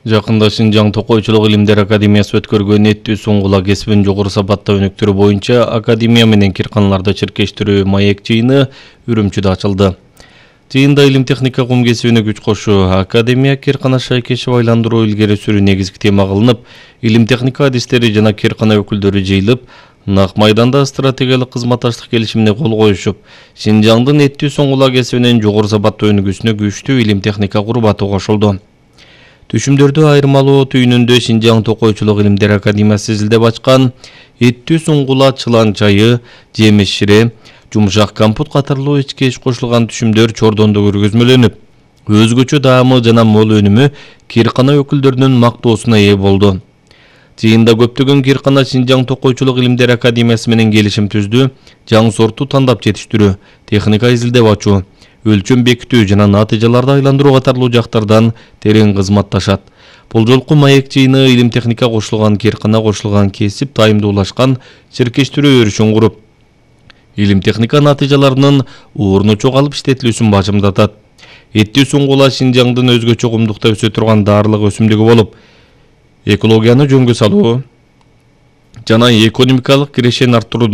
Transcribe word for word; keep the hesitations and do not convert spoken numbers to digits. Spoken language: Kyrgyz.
Жакында Шинжаң Токойчулук илимдер академиясы өткөргөн эттүү суңгула кесибин жогору сапатта өнүктүрүү боюнча академия менен кирканаларда чиркештирүү маек жыйыны Үрүмчүдө ачылды. Жыйында илим техника кум кесибине күч кошуу, академия киркана шайкешип айландыруу илгери сүрүү негизги тема кылынып, илим техника адистери жана киркана өкүлдөрү жыйылып, Нак майданда стратегиялык кызматташтык келишимине кол коюшуп, Шинжаңдын эттүү суңгула кесибинин жогору сапатта өнүгүүсүнө күчтүү илим техника курбаты кошулду. Түшүмдөрдү айырмалоо түйүнүндө Шинжаң Токойчулук илимдер академиясы изилдеп ачкан эттүү суңгула, чылан чайы, жемиш шире, жумшак компот катарлуу ички эч кошулган түшүмдөр чордондо көргөзмөлөнүп, өзгөчө даамы жана мол өнүмү киркана өкүлдөрүнүн мактоосуна ээ болду. Жыйында көптөгөн киркана Шинжаң Токойчулук илимдер академиясы менен келишим түздү, жаңы сортту тандап жетиштирүү, техника изилдеп ачуу, өлчөм бекитүү жана натыйжаларды айландыруу катарлуу жактардан терең кызматташат. Бул жолку маек жыйыны илим техника кошулган киркана кошулган кесип тайымдуулашкан чиркештирүү өрүшүн куруп, илим техника натыйжаларынын орну чогалып иштетилүүсүн бажымдатат. Эттүү суңгула Шинжаңдын өзгөчө кумдукта өсө турган даарылык өсүмдүгү болуп, экологияны жөнгө салуу жана экономикалык кирешени арттыруу